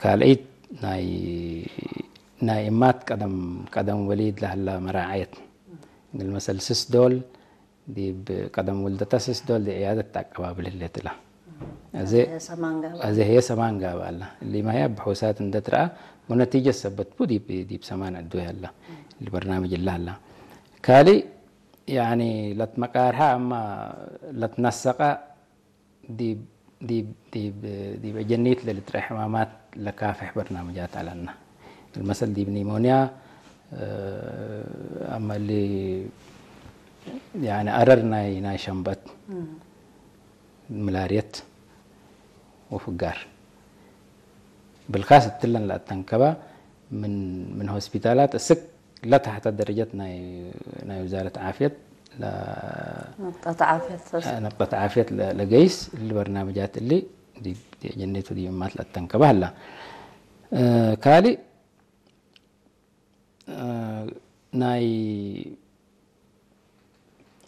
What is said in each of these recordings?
ካልኣይት ናይ ናይ እማት ቀደም ቀደም ወሊድ ለህላ መራዓየት። ግል መሰል ስስ ዶል ዲብ ቀደም ውልደታ ስስ ዶል ዲ ዕያደት ኣቀባብል ህለት እላ። እዚ ሰማን ጋባ እዚ ህየ ሰማን ጋባ ኣላ። ሊማ ህያ ብሑሳት እንደትረኣ ወነቲጀ ሰበት ቡ ዲብ ዲብ ሰማን ዕዱ ያላ ልበርናምጅ ላላ። ካሊ ያኒ ለትመቃርሃ ኣማ ለትነሰቃ ዲብ ዲብ ዲብ ዲብ እጀኒት ለልትረ ሕማማት ለካፍሕ በርናምጃት ኣለና። المثل ዲብ ኒሞንያ ኣመሊ ያኒ ኣረር ናይ ናይ ሸንበት ምላርየት ወፍጋር ብልካስ እትለን ለኣተንከባ ምን ምን ሆስፒታላት እስክ ለታሕተ ደረጀት ናይ ናይ ውዛረት ዓፍየት ለ- ነብጠት ዓፍየት ነብጠት ዓፍየት ለ- ለገይስ እሊ በርናምጃት እሊ ዲ- ዲ- ጀኔቱ ዲማት ለተንከባ ህላ እ፣ ካሊ እ፣ ናይ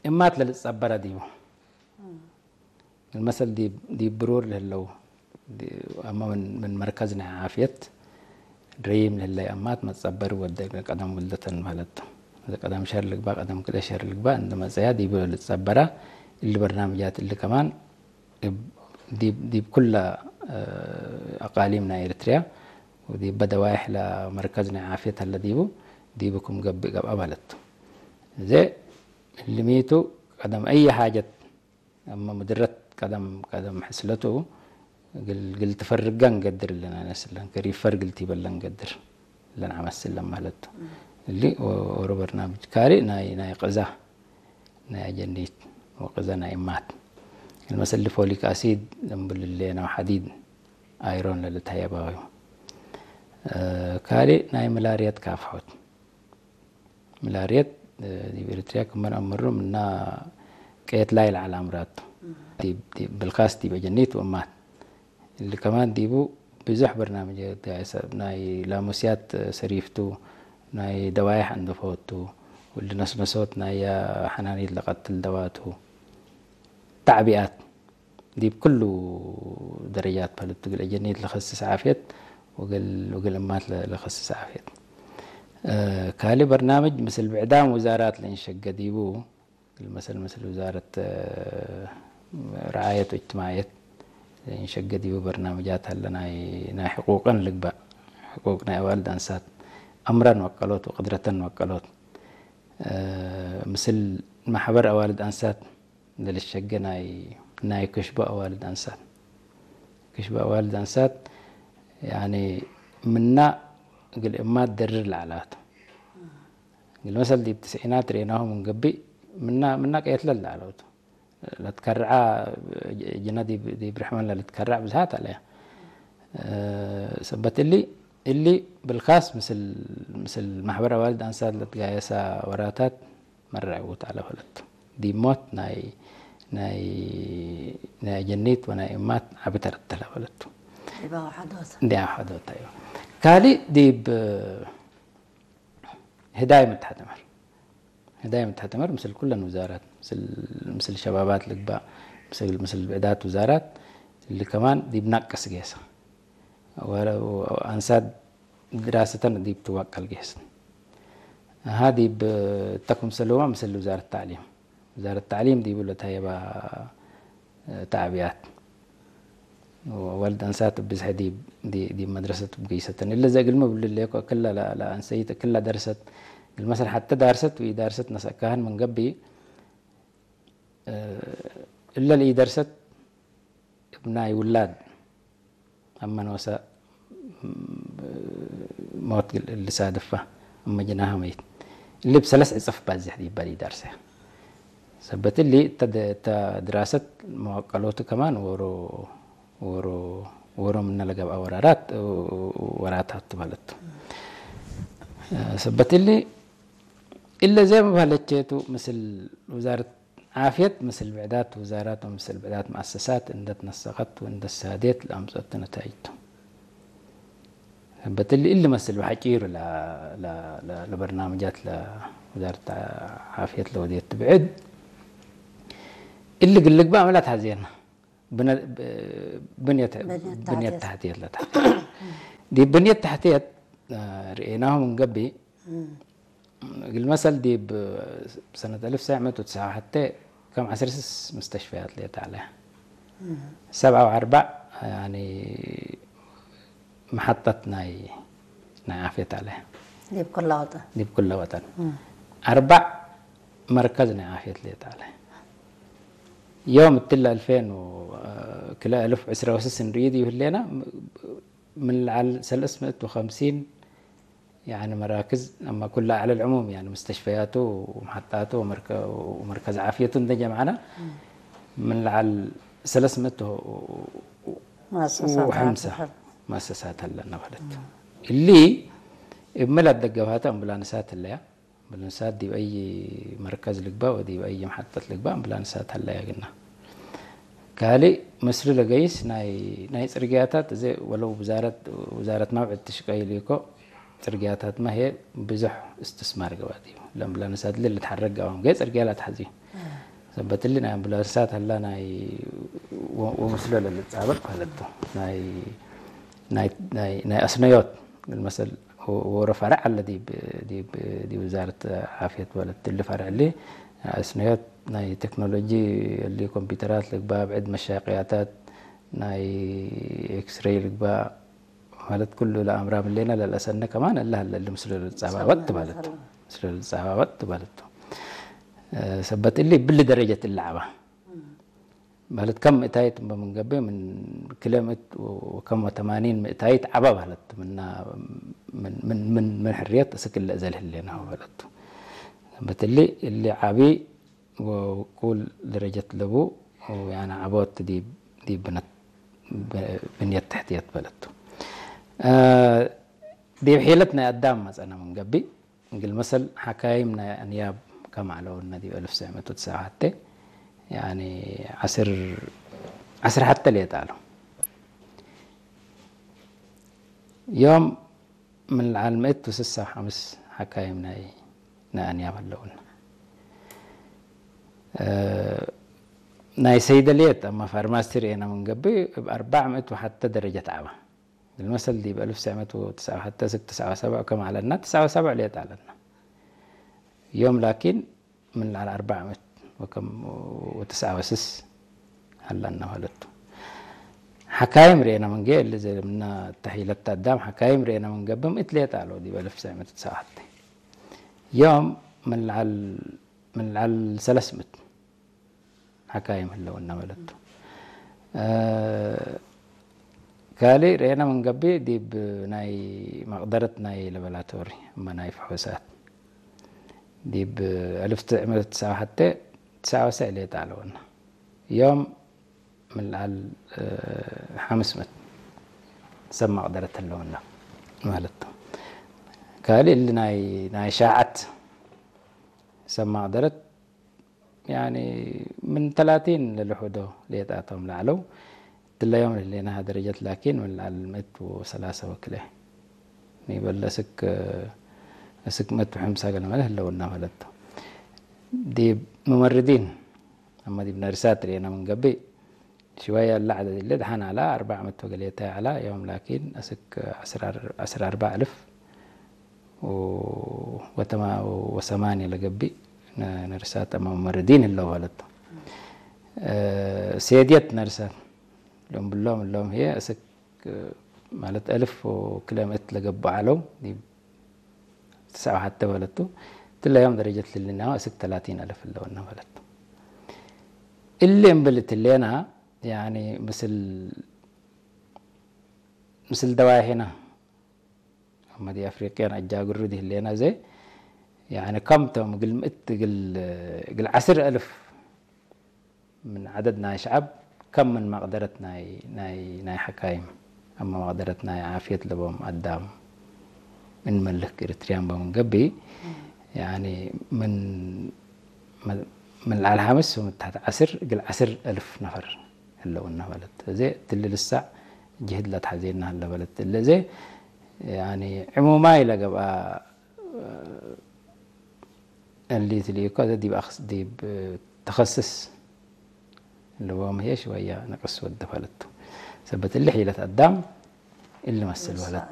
እማት ለልጸበረ ዲቡ المثل ዲብ ዲብ ብሩር ለህለው ዲ- ኣማ ምን ምን መርከዝ ናይ ዓፍየት ድሪም ለህለይ ኣማት መጸበር ወደ ቀደም ውልደተን ማለት እዚ ቀደም ሸር ልግባ ቀደም ክለ ሸር ልግባ እንደ መጸያ ዲብ ልጸበራ እሊ በርናምጃት እሊ ከማን ዲብ ዲብ ኩላ ኣቃሊም ናይ ኤርትርያ ወዲብ በደዋይሕ ለመርከዝ ናይ ዓፍየት ኣለ ዲቡ ዲቡ ክም ገብእ ገብኣ ማለት እዚ ልሚቱ ቀደም ኣየ ሓጀት ኣማ ምድረት ቀደም ቀደም ሕስለቱ ግል ግል ትፈርጋ እንገድር እለን ኣነስለን ከሪፈር ግል ቲበለ እንገድር እለን ዓመስለን ማለት እሊ ኦሮ በርናምጅ ካሪ ናይ ናይ ቅዛ ናይ ኣጀኒት ወቅዘ ናይ እማት المثل ፎሊክ ኣሲድ ለምብልሌ ነው ሓዲድ ኣይሮን ለልተየባዊ ካሊ ናይ ምላርየት ካፍሖት ምላርየት ዲብ ኤርትርያ ክመን ኣምሩ ምና ቀየት ላይ ለዓል ኣምራቱ ብልካስ ዲብ ኣጀኒት ወእማት እሊ ከማን ዲቡ ብዙሕ በርናምጅ ናይ ላሙስያት ሰሪፍቱ ናይ ደዋይሕ እንደፈወቱ ወልድ ነስነሶት ናይ ሓናኒት ለቀትል ደዋቱ ታዕቢኣት ዲብ ክሉ ደረጃት ፓለቱ ግል ጀኒት ለኸስስ ዓፍየት ወግል ወግል እማት ለኸስስ ዓፍየት ካሊ በርናምጅ ምስል ብዕዳም ውዛራት ለእንሸገ ዲቡ ግል መሰል ምስል ውዛረት ረዓየት ወእጅትማዕየት ለእንሸገ ዲቡ በርናምጃት ኣለ ናይ ናይ ሕቁቅን ልግባእ ሕቁቅ ናይ ኣዋልድ ኣንሳት ኣምረን ወቀሎት ወቅድረተን ወቀሎት ምስል ማሕበር ኣዋልድ ኣንሳት ለልሸገ ናይ ናይ ክሽቦ ኣዋልድ ኣንሳት ክሽቦ ኣዋልድ ኣንሳት ያኒ ምና ግል እማት ደርር ለዓላቱ ግል መሰል ዲብ ትስዒናት ርኤናሁ ምን ገብእ ምና ምና ቀየትለ ለዓለውቱ ለትከርዓ ጅና ዲብ ዲብ ርሕመን ለልትከርዕ ብዝሃት ኣለያ ሰበት እሊ እሊ ብልካስ ምስል ምስል ማሕበር ኣዋልድ ኣንሳት ለትጋየሳ ወራታት መረዕውት ኣለፈለቱ ዲብ ሞት ናይ ናይ ናይ ጀኒት ወናይ እማት ዓቢ ተረተለ ፈለቱ ዲባዊ ሓዶት እንዲያ ሓዶት እዩ ካሊ ዲብ ህዳይ ምትሓተመር ህዳይ ምትሓተመር ምስል ኩለን ውዛራት ምስል ምስል ሸባባት ልግባእ ምስል ምስል ብዕዳት ውዛራት እሊ ከማን ዲብ ናቅስ ጌሳ ኣንሳት ድራሰተን ዲብ ትዋቀል ጌስ ሃ ዲብ ተኩም ሰለማ ምስል ውዛረት ታዕሊም ውዛረት ታዕሊም ዲቡ ለታየባ ታዕቢያት ወልድ ኣንሳት ብዝሒ ዲብ ዲ- ዲብ መድረሰት ብገይሰተን እለ ዘግልሚ ብልሌኮ ክላ ላ- ላ ኣንሰይት ክላ ደርሰት ግል መሰል ሓተ ዳርሰት ወይ ዳርሰት ነሰካህን ምን ገቢ እለ ለኢደርሰት እብ ናይ ውላድ ኣብ መኖሰ ሞት ልሳድፋ እመ ጅናሃ መይት እሊ ብሰለስ ዕጽፍ ባዝሕ ይባል ይዳርሰ ሰበት እሊ እተ ድራሰት መዋቀሎቱ ከማን ወሮ ወሮ ወሮ ምነ ለገብኣ ወራራት ወራታት ማለት ሰበት እሊ እለ ዘይ መባለቸቱ ምስል ውዛረት ዓፍየት ምስል ብዕዳት ውዛራት ወምስል ብዕዳት መኣሰሳት እንደ ትነሰቀት ወእንደ ሳዴት ለኣምጸቱ ነታይጅቱ። በትሊ እሊ መስል ብሓጪሩ ለበርናምጃት ለውዛረት ዓፍየት ለወዴት ብዕድ እሊ ግልግባ መላት ሃዜና ብንየት ታህትየት ለታህትየት ዲብ ብንየት ተሕትየት ርኤናሁ ምንገቢ እግል መሰል ዲብ ሰነት አልፍ ሰዕ መት ወትስዓ ወሐተ ከም ዐስር ስስ ምስተሽፈያት ሌት አለ። ሰብዓ ወአርባዕ ያኒ መሓጣት ናይ ናይ ዓፍየት አለ። ዲብ ኩላ ወጠን ዲብ ኩለ ወጠን አርባዕ መርከዝ ናይ ዓፍየት ሌት አለ። ዮም እትለ አልፌን ክለ አልፍ ዕስራ ወስስ እንርኢ ዲብ ህሌና ምን ለዓል ሰለስ ምእት ወኸምሲን ያኒ መራክዝ አማ ኩላ አዕለ ልዕሙም ያኒ ሙስተሽፈያቱ ወመሓጣቱ ወመርከ- ወመርከዝ ዓፍየቱ እንደ ጀምዓና ምን ለዓል ሰለስ ምእት ወ- መሰሳት ወሐምሳ ዓሰርተ መሰሳት አለና ማለት እሊ እምል አደገፋተ አምቡላንሳት ኣለያ። አምቡላንሳት ዲብ አይ መርከዝ ልግባ ወዲብ አይ መሓጠት ልግባ አምቡላንሳት ኣለያ ግና ካልእ ምስሉ ለገይስ ናይ ናይ ጽርግያታት እዚ ወለው ውዛረት ውዛረት ናውዕት ትሽቀይሉ እኮ ጽርግያታት ማሄ ብዙሕ እስትስማር ገባት እዩ። ለአምቡላንሳት ልል ልትሓረግ ገባም ገ ጽርግያ ላትሓዚ ሰበትሊ ናይ አምቡላንሳት ሀላ ናይ ወ- ወምስሎ ለልጻበቅ ማለት ናይ ናይ ናይ ናይ አስነዮት መሰል ወረ ፈረዕ አለ ዲብ ዲብ ዲብ ውዛረት ዓፍየት ማለት ትሊ ፈረዕ ሊ አስነዮት ናይ ቴክኖሎጂ እሊ ኮምፒውተራት ልግባ ብዕድ መሻቀያታት ናይ ኤክስሬይ ልግባ ማለት ኩሉ ለአምራ ምሌና ለልአሰነ ከማን እለ ሀለ እሊ ምስሉ ልጻባበጥ ማለት ምስሉ ልጻባበጥ ማለት ሰበት እሊ ብሊ ደረጀት እለ ዓባ ማለት ከም ምእታይት እምበ ምንገበ ምን ክለ ምእት ወከም ወተማኒን ምእታይት ዓባ ማለት ምና ምን ምን ምን ምን ሕርየት እስክለ እዘል ህሌና ማለት ሰበት እሊ እሊ ዓቢ ወኩል ደረጀት ለቡ ያና ዓቦት ዲብ ዲብ ብነት ብንየት ትሕትየት በለቱ ዲብ ሒለት ናይ አዳም መጸና ምንገቢ እግል መሰል ሓካይም ናይ አንያብ ከም አለውነ ዲብ አልፍ ሰዕ መት ወትስዓ ወሐተ ያኒ ዐስር ዐስር ሐተ ሌጣ አለው ዮም ምን ለዓል ምእት ወስሳ ሐምስ ሓካይም ናይ ናይ አንያብ አለውነ ናይ ሰይደልየት አማ ፋርማሲ ርኤና ምንገቢ እብ አርባዕ ምእት ወሐተ ደረጀት ዓባ እግል መሰል ዲብ አልፍ ሰዕ መት ወትስዓ ወሐተ ስግ ትስዓ ወሰብዕ ከም አለና ትስዓ ወሰብዕ ሌጣ አለና ዮም ላኪን ምን ለዓል አርባዕ ምእት ወከም ወትስዓ ወስስ ሀላና ማለቱ ሓካይም ርኤና ምንገ እሊ ዘምና ተሒለት አዳም ሓካይም ርኤና ምንገቢ ምእት ሌጣ አለው ዲብ አልፍ ሰዕ መት ወትስዓ ወሐተ ዮም ምን ለዓል ምን ለዓል ሰለስ ምእት ሓካይም ህለውና መለቱ ካልእ ርኤና ምንገቢ ዲብ ናይ መቅደረት ናይ ለበላቶሪ እመ ናይ ፍሑሳት ዲብ አልፍ ትስዓ መት ወትስዓ ወሐተ ትስዓ ወሰዕ ሌጣ አለውና ዮም ምን ለዓል ሐምስ ምእት ሰብ መቅደረት ህለውና ማለት ካልእ እሊ ናይ ናይ ሻዓት ሰብ መቅደረት ያኒ ምን ተላቲን ለልሑዶ ሌጣቶም ለዐለው ትለዮም ለህሌናሃ ደረጀት ላኪን ምን ለዓል ምእት ወሰላሳ ወክለ ኒበለ እስክ እስክ ምእት ወሐምሳ ገለ መለ ህለውና መለቶ ዲብ ሙመርዲን አማ ዲብ ነርሳት ርኤና ምንገቢ ሽወያ ለዓለ ድለ ደሓን አላ አርባዕ ምእት ወገሌታ አላ ዮም ላኪን እስክ ዐስር አርባዕ አልፍ ወተማ ወሰማንያ ለገቢ ነርሳት አማ ሙመርዲን ህለው ማለቶ ሴድየት ነርሳት ሎም ብሎም እሎም ህየ እስክ ማለት አልፍ ወክለ ምእት ለገቡ አለው ዲብ ትስዓ ወሐተ ማለቱ ትለዮም ደረጀት ልልና እስክ ተላቲን አልፍ ህለውና ማለቱ እሊ እምብል እትሌና ያኒ ምስል ምስል ደዋይ ሄና አመዲ አፍሪቅያን አጃግሩ ዲህሌና ዘ ያኒ ከምቶም እግል ምእት እግል እግል ዐስር አልፍ ምን ዐደድ ናይ ሸዐብ ከም ምን መቅደረት ናይ ናይ ናይ ሐካይም አማ መቅደረት ናይ ዓፍየት ለቦም አዳም እንመልክ ኤሪትርያን በምንገቢ ያኒ ምን ምን ለዓል ሐምስ ወምታሕት ዐስር እግል ዐስር አልፍ ነፈር ህለውና ማለት እዜ ትሊ ልሳዕ ጅህድ ለትሐዜና ህለ በለት እለ እዜ ያኒ ዕሙማይ ለገብአ እሊ ትልኢኮ እዘ ዲብ አክስ ዲብ ተኸስስ ለቦም ህየ ሽወያ ንቅስ ወደ ፈለቱ ሰበት እሊ ሒለት አዳም እሊ መስል በለት